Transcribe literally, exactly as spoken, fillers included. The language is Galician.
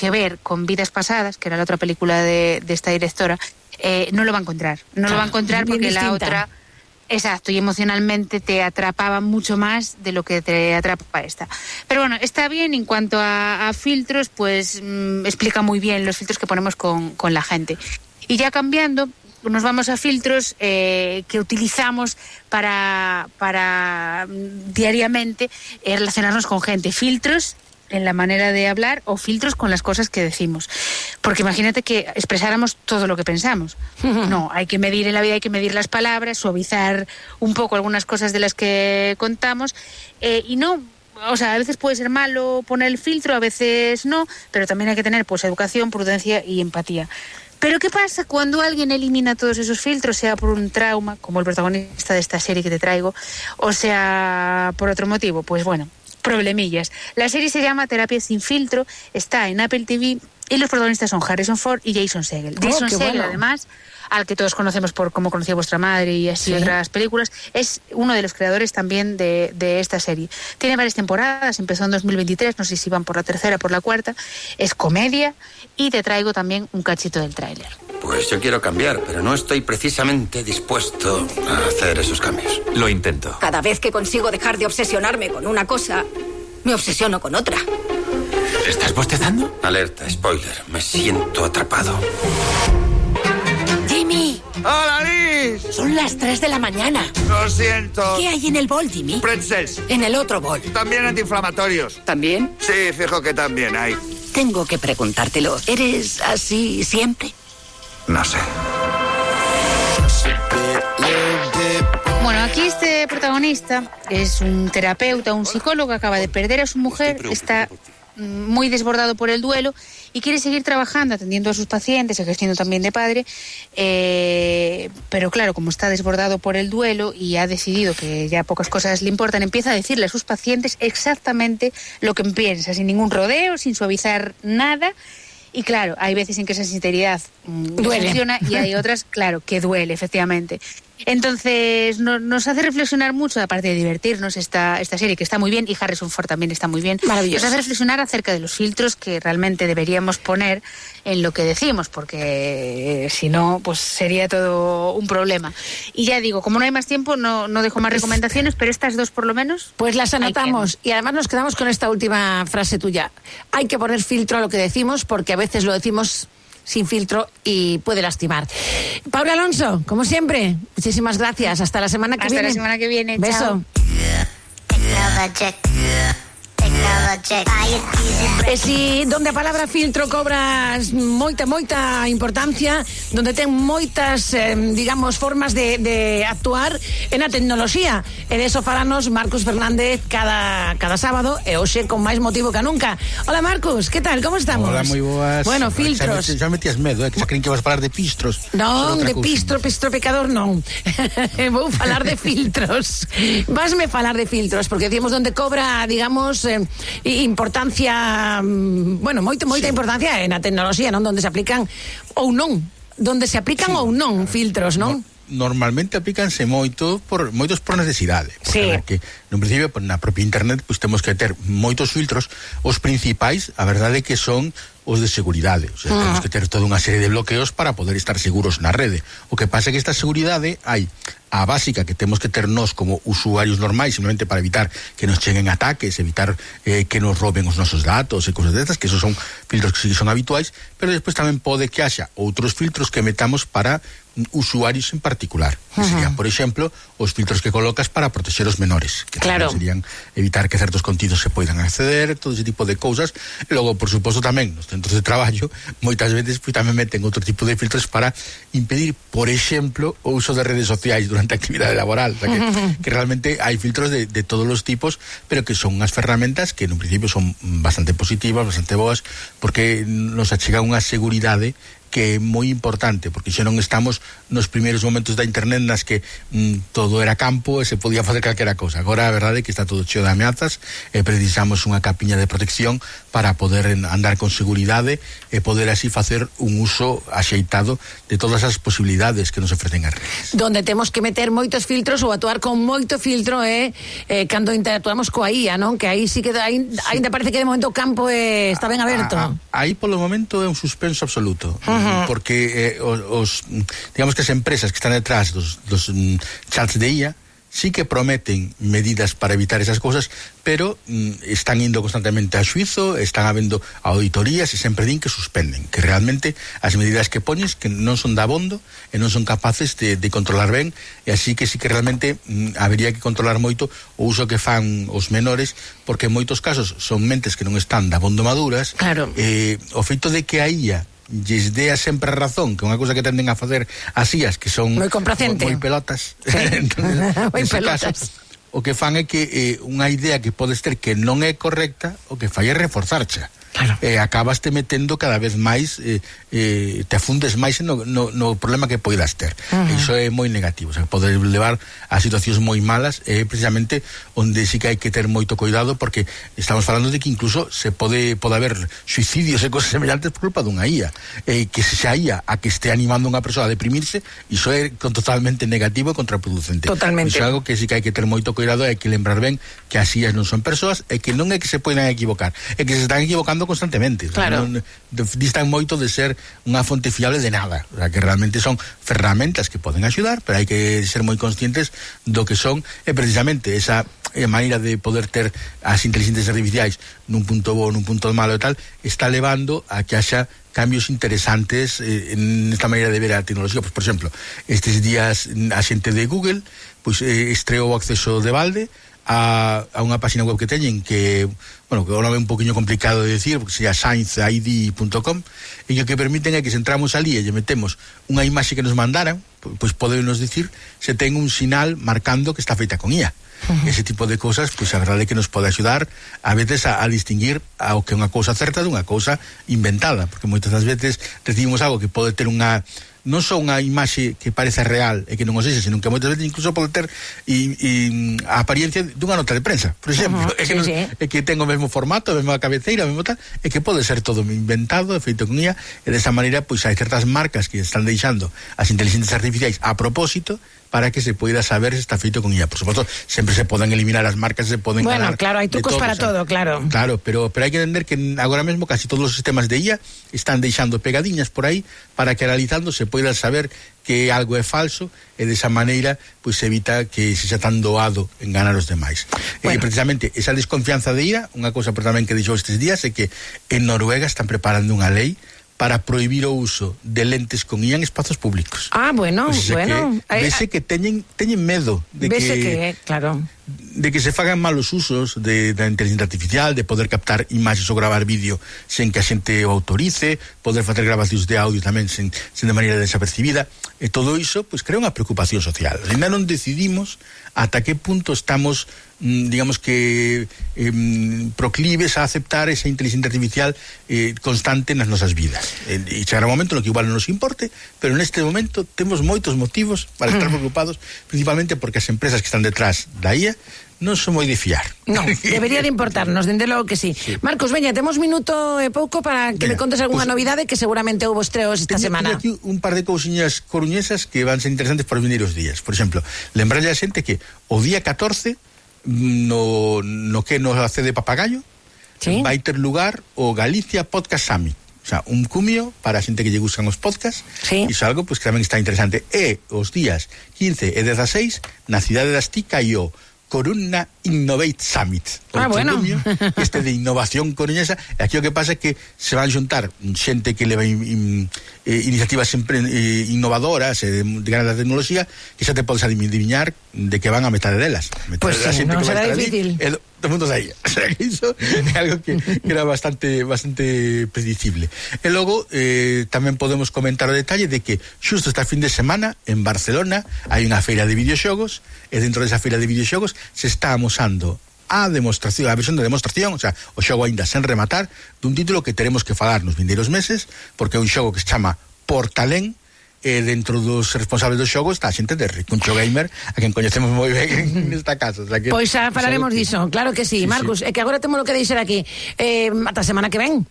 que ver con Vidas Pasadas, que era la otra película de, de esta directora, eh, no lo va a encontrar. No ah, lo va a encontrar porque distinta. La otra... Exacto, y emocionalmente te atrapaba mucho más de lo que te atrapa esta. Pero bueno, está bien. En cuanto a, a filtros, pues mmm, explica muy bien los filtros que ponemos con, con la gente. Y ya cambiando, nos vamos a filtros eh, que utilizamos para, para diariamente eh, relacionarnos con gente. Filtros en la manera de hablar o filtros con las cosas que decimos. Porque imagínate que expresáramos todo lo que pensamos. No, hay que medir en la vida, hay que medir las palabras, suavizar un poco algunas cosas de las que contamos, eh, y no... O sea, a veces puede ser malo poner el filtro, a veces no, pero también hay que tener pues educación, prudencia y empatía. Pero ¿qué pasa cuando alguien elimina todos esos filtros, sea por un trauma, como el protagonista de esta serie que te traigo, o sea por otro motivo? Pues bueno, problemillas. La serie se llama Terapia sin filtro, está en Apple T V y los protagonistas son Harrison Ford y Jason Segel. Oh, Jason Segel, bueno. además, al que todos conocemos por Cómo conocí a vuestra madre y así, ¿sí?, otras películas, es uno de los creadores también de, de esta serie. Tiene varias temporadas, empezó en dos mil veintitrés, no sé si van por la tercera o por la cuarta, es comedia y te traigo también un cachito del tráiler. Pues yo quiero cambiar, pero no estoy precisamente dispuesto a hacer esos cambios. Lo intento. Cada vez que consigo dejar de obsesionarme con una cosa, me obsesiono con otra. ¿Estás bostezando? Alerta, spoiler, me siento atrapado. ¡Jimmy! ¡Hola, Liz! Son las tres de la mañana. Lo siento. ¿Qué hay en el bol, Jimmy? Pretzels. En el otro bol. También antiinflamatorios. ¿También? Sí, fijo que también hay. Tengo que preguntártelo. ¿Eres así siempre? No sé. Bueno, aquí este protagonista es un terapeuta, un psicólogo que acaba de perder a su mujer, está muy desbordado por el duelo y quiere seguir trabajando, atendiendo a sus pacientes, ejerciendo también de padre, eh, pero claro, como está desbordado por el duelo y ha decidido que ya pocas cosas le importan, empieza a decirle a sus pacientes exactamente lo que piensa, sin ningún rodeo, sin suavizar nada. Y claro, hay veces en que esa sinceridad mmm, duele. Funciona y hay otras, claro, que duele, efectivamente. Entonces, no, nos hace reflexionar mucho, aparte de divertirnos, esta, esta serie, que está muy bien, y Harrison Ford también está muy bien. Maravilloso. Nos hace reflexionar acerca de los filtros que realmente deberíamos poner en lo que decimos, porque eh, si no, pues sería todo un problema. Y ya digo, como no hay más tiempo, no, no dejo más recomendaciones, pero estas dos por lo menos... Pues las anotamos, y además nos quedamos con esta última frase tuya. Hay que poner filtro a lo que decimos, porque a veces lo decimos sin filtro y puede lastimar. Paula Alonso, como siempre, muchísimas gracias. Hasta la semana que Hasta viene. Hasta la semana que viene. Beso. E si donde a palabra filtro cobra moita, moita importancia, donde ten moitas, eh, digamos, formas de, de actuar en a tecnoloxía. E de eso falanos Marcus Fernández cada, cada sábado, e hoxe con máis motivo que nunca. Hola Marcus, que tal? Como estamos? Hola, moi boas. Bueno, filtros. Xa, xa metías medo, eh, que xa creen que vas a falar de pistros. Non, de pistro, pistro pecador non. Vou falar de filtros. Vasme falar de filtros, porque decimos donde cobra, digamos, eh, importancia, bueno, moita, moita sí. importancia na tecnoloxía, non? Donde se aplican ou non, donde se aplican sí. ou non filtros, non? No, normalmente aplícanse moito por moitos por necesidade. Sí. A ver, que no principio na propia internet pois temos que ter moitos filtros. Os principais, a verdade é que son os de seguridade, o sea, uh-huh. temos que ter toda unha serie de bloqueos para poder estar seguros na rede. O que pasa é que esta seguridade hai a básica que temos que ter nós como usuarios normais, simplemente para evitar que nos cheguen ataques, evitar eh, que nos roben os nosos datos e cousas destas, que esos son filtros que sí son habituais, pero despois tamén pode que haxa outros filtros que metamos para usuarios en particular, que uh-huh. serían, por exemplo, os filtros que colocas para proteger os menores, que claro. serían evitar que certos contidos se poidan acceder, todo ese tipo de cousas. E logo, por suposto, tamén nos centros de traballo, moitas veces pues, tamén meten outro tipo de filtros para impedir, por exemplo, o uso de redes sociais durante a actividade laboral. O sea, que, uh-huh. que realmente hai filtros de, de todos os tipos, pero que son unhas ferramentas que, no principio, son bastante positivas, bastante boas, porque nos achega unha seguridade que é moi importante, porque xa non estamos nos primeiros momentos da internet nas que mm, todo era campo e se podía facer calquera cosa. Agora a verdade é que está todo cheo de ameazas e precisamos unha capiña de protección para poder andar con seguridade e poder así facer un uso axeitado de todas as posibilidades que nos ofrecen as redes. Donde temos que meter moitos filtros ou actuar con moito filtro é eh, cando interactuamos coa I A, non? Que aí sí que aí, sí. Ainda parece que de momento o campo eh, está ben aberto. A, a, aí polo momento é un suspenso absoluto. Uh-huh. Porque eh, os, os digamos que as empresas que están detrás dos, dos um, chats de I A sí que prometen medidas para evitar esas cosas, pero mm, están indo constantemente a xuizo, están habendo auditorías e sempre din que suspenden, que realmente as medidas que poñes que non son dabondo e non son capaces de, de controlar ben, e así que sí que realmente mm, habería que controlar moito o uso que fan os menores, porque en moitos casos son mentes que non están dabondo maduras. Claro. Eh, o feito de que a I A lles dea sempre a razón, que é unha cousa que tenden a facer as I As, que son moi complacente, moi pelotas. Sí. Moi pelotas. Caso, o que fan é que eh, unha idea que podes ter que non é correcta, o que fai é reforzarcha. Claro. Eh, acabas te metendo cada vez máis, eh, eh, te afundes máis no, no, no problema que poidas ter. Uh-huh. Iso é moi negativo, o sea, poder levar a situacións moi malas é eh, precisamente onde sí que hai que ter moito cuidado, porque estamos falando de que incluso se pode pode haber suicidios e cosas semellantes por culpa dunha I A. Eh, que se xa I A a que este animando a unha persoa a deprimirse, iso é totalmente negativo e contraproducente. Totalmente. Iso é algo que sí que hai que ter moito cuidado, hai que lembrar ben que as I As non son persoas e que non é que se poden equivocar, é que se están equivocando constantemente. Claro. Non, distan moito de ser unha fonte fiable de nada, o sea, que realmente son ferramentas que poden axudar, pero hai que ser moi conscientes do que son, e precisamente esa eh, maneira de poder ter as inteligencias artificiais nun punto bo, nun punto malo e tal, está levando a que haxa cambios interesantes eh, en esta maneira de ver a tecnoloxía. Pues, por exemplo, estes días a xente de Google pues, eh, estreou o acceso de balde a, a unha página web que teñen que, bueno, que é un nome un poquinho complicado de decir, porque se llama science I D punto com, e o que permiten é que se entramos ali e lle metemos unha imaxe que nos mandaran, pois podenos dicir se ten un sinal marcando que está feita con I A. Uh-huh. Ese tipo de cosas, pois a verdade é que nos pode axudar a veces a, a distinguir ao que é unha cousa certa dunha cousa inventada, porque moitas das veces recibimos algo que pode ter unha non só unha imaxe que parece real e que non o sexa, senón que moitas veces incluso pode ter e, e, a apariencia dunha nota de prensa, por exemplo. Uh-huh, é, que sí, non, sí. é que ten o mesmo formato, a mesma cabeceira, a mesmo tal, é que pode ser todo inventado, feito con I A, e desa maneira, pois hai certas marcas que están deixando as inteligencias artificiais a propósito para que se poida saber se está feito con I A. Por suposto, sempre se poden eliminar as marcas, se poden bueno, ganar. Claro, hai trucos para todo, claro. Claro, pero pero hai que entender que agora mesmo casi todos os sistemas de I A están deixando pegadiñas por aí para que analizando se poida saber que algo é falso e desa maneira pois se evita que se xa tan doado enganar os demais. Bueno. E precisamente esa desconfianza de I A, unha cousa por tamén que dixo estes días é que en Noruega están preparando unha lei para prohibir o uso de lentes con I A en espazos públicos. Ah, bueno, o sea, bueno. Que, vese que teñen teñen medo de vese que, que claro, de que se fagan malos usos de, da inteligencia artificial, de poder captar imaxes ou gravar vídeo sen que a xente o autorice, poder facer grabacións de audio tamén sen, sen de maneira desapercibida, e todo iso pois crea unha preocupación social. Ainda non decidimos ata que punto estamos digamos que eh, proclives a aceptar esa inteligencia artificial eh, constante nas nosas vidas. E eh, chegará un momento no que igual non nos importe, pero neste momento temos moitos motivos para estar preocupados, principalmente porque as empresas que están detrás da I A non son moi de fiar. No, debería de importarnos, dende logo que sí. sí. Marcos, veña, temos minuto e pouco para que Venga, me contes algunha pues, novidade que seguramente houve estreos esta teño, semana. Teño aquí un par de cousiñas coruñesas que van ser interesantes para os vindeiros días. Por exemplo, lembrarlle a xente que o día catorce no, no que nos hace de Papagayo, ¿sí? vai ter lugar o Galicia Podcast Summit. O sea, un cumio para a xente que lle gustan os podcasts. Sí. Iso algo pois, que tamén está interesante. E os días quince e dezaseis na cidade das Tica e o Corunna Innovate Summit. Ah, bueno. Cumio, este de innovación coruñesa. E aquí o que pasa é que se van xuntar xente que leva in, in, eh, iniciativas sempre eh, innovadoras eh, de gran tecnoloxía, que xa te podes adivinar de que van a metade delas. Metade pues de sí, non será difícil. Ali, todo mundo aí. O sea, que iso é algo que, que era bastante bastante predicible. E logo eh, tamén podemos comentar o detalle de que xusto esta fin de semana en Barcelona hai unha feira de videoxogos, e dentro desa feira de videoxogos se está amosando a demostración, a versión de demostración, o sea, o xogo aínda sen rematar, dun título que teremos que falar nos vindeiros meses, porque é un xogo que se chama por talén, eh, dentro dos responsables do xogo está a xente de Ricuncho Gamer, a quen coñecemos moi ben nesta casa. O sea que, pois xa falaremos diso, claro que sí, sí Marcus, sí. É que agora temos lo que deixar aquí. Eh, ata semana que ven.